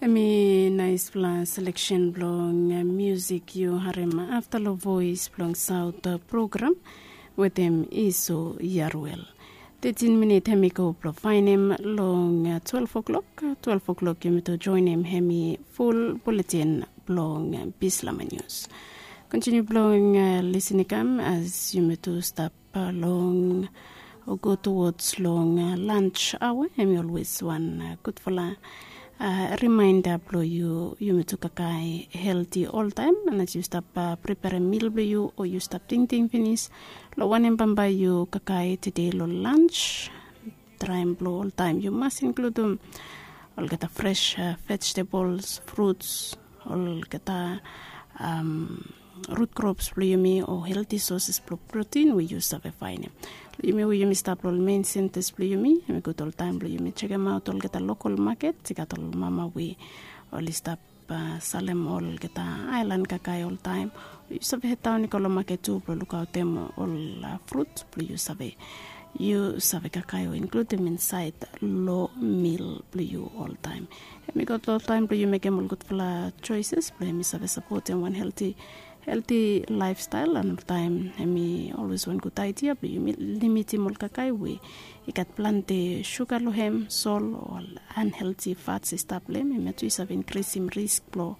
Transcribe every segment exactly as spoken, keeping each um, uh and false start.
Em i naispela seleksen blong musik yu harim afta long voes blong saut program wetem iso yaruel. Tetin minit hem i go blong fainem long twelve o'clock. Twelve o'clock yumi tu joinim hem i ful buletin blong bislama nius. Kontiniu blong lisin i kam as yumi tu stap long o go towards long lunch awa, em i olwes wan gudfala rimainda blong yu yumi tu kakae helti oltaem. Ana yu stap preparim mil blong yu o yu stap tingting finis long wanem bambae yu kakae tede long lunch, traem blong oltaem yu mas inkludim olgeta fres vegetables, fruts, olgeta rut krops blong yumi o helti soses blong protin we yu save fainem. Long yumi we yumi stap long ol mein sentas blong yumi, em i gud oltaem blong yumi sekemaot olgeta lokol maket. I gat ol mama we oli stap salem olgeta aelan kakae oltaem. Yu save hedaon i go long maket tu blong lukaotem ol frut blong yu save yu save kakae o inkludim insaed long mil blong yu oltaem. Em i gud oltaem blong yu mekem ol gudfala soeses blong em i save sapotem wan helti helti laefstael. An oltaem em i olwes wan gud aidia blong yumi limitim ol kakae we i gat plante suga long hem, sol o ol anhelti fats i stap long hem. Em ya tu i save inkrisim risk blong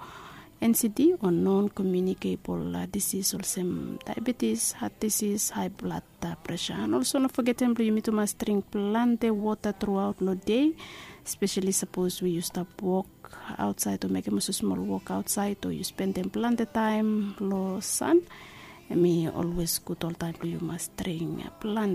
ncd o non komiunikebol disis olsem diabetis, hat disis, hae blad presa. An olso no fogetem blong yumi tu mas dring plante wota truaot long dei, spesali sapos we yu stap wok aotsaed o mekem olsem smol wok aotsaed o yu spendem plante taem long san. Em i olwes gud oltaem blong yu mas dring plante